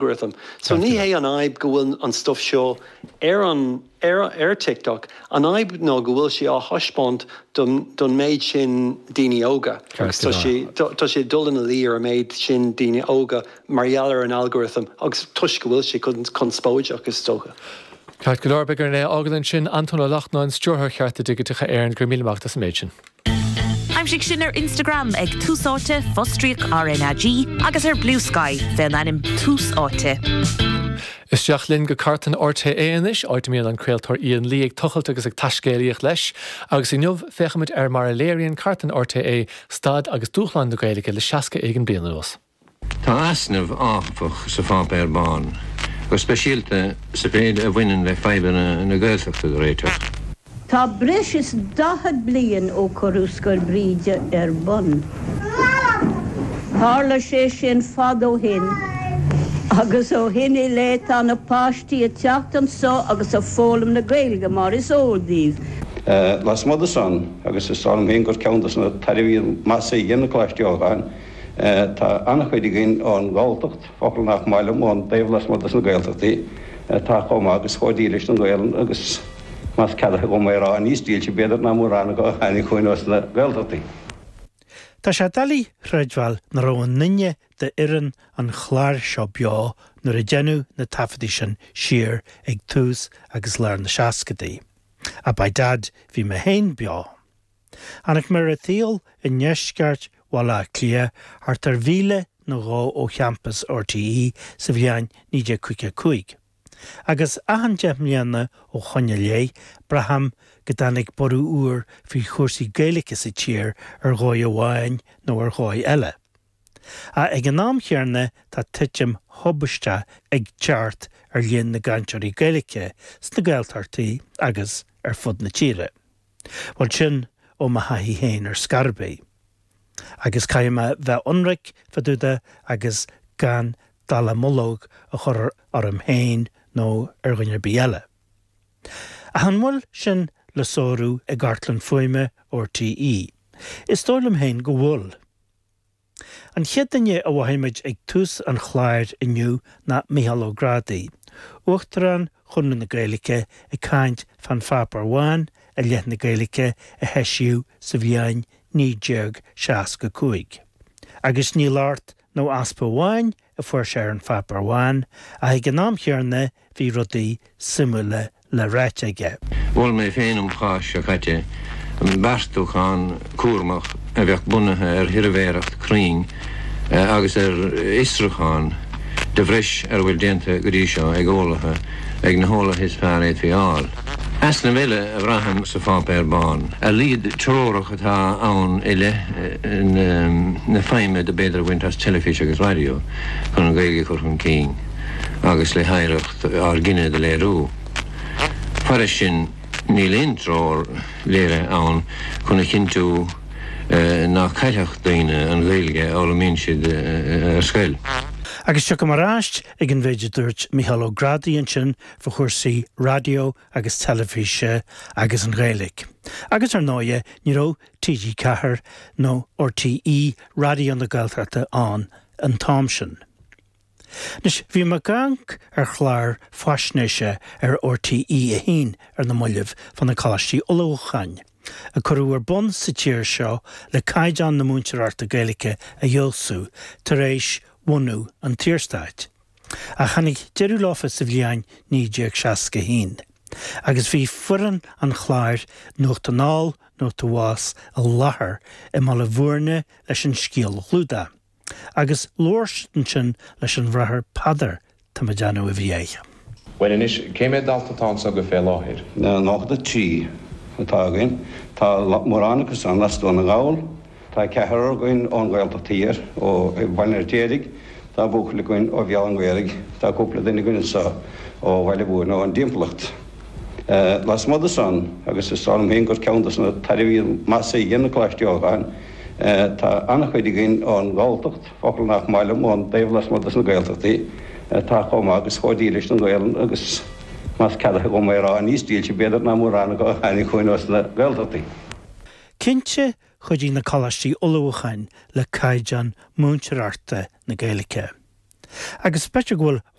Algorithm. So ní hé an fhadhb go bhfuil an stuff seo ar an ar ar TikTok, an fhadhb ná go bhfuil sé á thaispeáint don don méid sin daoine óga agus tá sé tá sé ag dul ina luí ar an méid sin daoine óga mar gheall ar an algorithm agus toisc go bhfuil sé conspóideach is dócha. Ceart go leor, beidh orainn é a fhágáil ansin. Antóin Ó Lachtnáin, Stiúrthóir Chearta Digiteacha Éireann, go raibh míle maith agat as an méid sin. Aimsigh sinn ar Instagram ag Tús Áite, fostríoc RnaG, agus ar Bluesky fén ainm Tús Áite. Isteach linn go cartlann RTÉ anois, áit a mbíonn an craoltóir Ian Lee ag tochailt agus ag taiscéalaíocht leis. Agus inniu, féachfaimid ar mar a léiríonn cartlann RTÉ staid agus dúshláin na Gaeilge le 60 éigin bliain anuas. Tá easnamh, áfach, sa pháipéar bán, go speisialta sa mhéid a bhaineann le fadhbanna na Gaeltachta do réiteach. Tá breis is 40 bliain ó cuireadh Scoil Bhríde ar bun. Tharla sé sin fad ó shin agus ó shin i leith tá na páistí ag teacht anso agus ag foghlaim na Gaeilge mar is eol daoibh. Lasmuigh de san, agus is dóigh liom féin gur ceann de na tairbhí is measa a dhein na Coláistí Eoghain, Tá an-chuid againn ón nGalltacht, focal nach maith liom, ón dtaobh lasmuigh dos na Gaeltachtaí, atá chomh maith agus chomh dílis don Ghaelainn agus, más ceadaithe dhom é a rá, níos dílse b'fhéidir ná mórán acu a tháinig chugainn ós na Gaeltachtaí. Tá sé doiligh a chreidbheáil nach raibh aon duine d'fhoireann an chláir seo beo nuair a deineadh na taifeadtaí sin siar ag tús agus lár na seascadaí. Ach by dad bhí mé féin beo. Tháinig mé ar an tsaol i ndeisceart Bhaile Átha Cliath, thart ar mhíle nó dhó ó champas RTÉ sa bhliain 1955. Agus achan 10 mbliana ó shoin i leith, braithim go dtáinig borradh úr faoi chúrsaí Gaeilge sa tír ar dhóigh amháin nó ar dhóigh eile. Ach ag an am chéanna tá titim thubaisteach ag teacht ar líon na gcainteoirí Gaeilge sna Gaeltachtaí agus ar fud na tíre. Bhuel, sin ó mo thaithí féin ar scor ar bith. Agus caithfidh mé bheith ionraic fá dtaobh de agus gan dallamullóg a chur orm féin nó ar dhuine ar bith eile. Ach an bhfuil sin le sárú i gcartlann fuaime RTÉ? Is dóigh liom féin go bhfuil. An chéad duine a mhothaigh muid ag tús an chláir inniu ná Mícheál Ó Grádaigh, Uachtarán Chonradh na Gaeilge ag caint fán Pháipéar Bhán i leith na Gaeilge a heisíodh sa bhliain 1965. Agus ní locht nó easpa amháin a fuair sé ar an Pháipéar Bhán ach ag an am chéanna bhí rudaí suimiúla le ráit aige. Mhol mé féin um Cháisc seo caite beartúchán cúramach a bheadh bunaithe ar shuirbhéireacht cruinn agus ar fhiosrúchán de bhreis ar a bhfuil déanta go dtí seo ag eolaithe, ag na heolaithe is fearr a fhéadfaí a fháil. Easnamh eile a bhraithim sa Pháipéar Bán, a laghad treorach atá ann i leith na feidhme do b'fhéidir a bhaint as teilifís agus raidió chun an Ghaeilge a chur chun cinn agus le hoidhreacht ár gcine do léiriú. Fairis sin, níl aon treoir léirithe ann chun a chinntiú nach caillfeadh daoine an Ghaeilge a fhoghlaimíonn siad ar scoil. Agus tiocfaidh mé ar ais ag an mhéid a dúirt Mícheál Ó Grádaigh ansin fá chúrsaí raidió agus teilifíse agus an Ghaeilge. Agus ar ndóighe, ní raibh TG4 nó RTÉ Raidió na Gaeltachta ann an t-am sin. Anois, bhí mé ag amharc ar chlár faisnéise ar RTÉ 1 ar na mallaibh fá na coláistí ullmhúcháin, a cuireadh ar bun sa tír seo le caighdeán na múinteoireachta Gaeilge a fheabhsú tar éis bhunú an tSaorstáit. Ach tháinig deireadh leofa sa bhliain 1961, agus bhí foireann an chláir Nuacht Anall, Nuacht Abhus i láthair i mBaile Bhúirne leis an scéal a chlúdach. Agus labhair siad ansin leis an Bhráthair Peadar, tá mé ag déanamh a bhí aige. Bhuel anois, cé mhéad dalta atá anso go fé láthair? 93 atá againn. Tá mórán acu san as Dún na nGall. Tá ceathrar againn ón Ghaeltacht Thiar, ó Bhaile an Fheirtéaraigh. Tá buachaill againn ó Bhéal an Ghaorthaidh. Tá cúpla duine againn anso ó Bhaile Bhúirne, ón dtimpeallacht. Lasmuigh de san, agus is dóigh liom féin gur ceann de na tairbhí is measa a dhein na Coláistí Eoghain, Tá an-chuid againn ón nGalltacht, focal nach maith liom, ón dtaobh lasmuigh dos na Gaeltachtaí, atá chomh maith agus chomh dílis don Ghaelainn agus, más ceadaithe dhom é a rá, níos dílse b'fhéidir ná mórán acu a tháinig chugainn ós na Gaeltachtaí. Cinnte, chuidigh na coláistí ullmhúcháin le caighdeán múinteoireachta na Gaeilge. Agus b'fhéidir go bhfuil.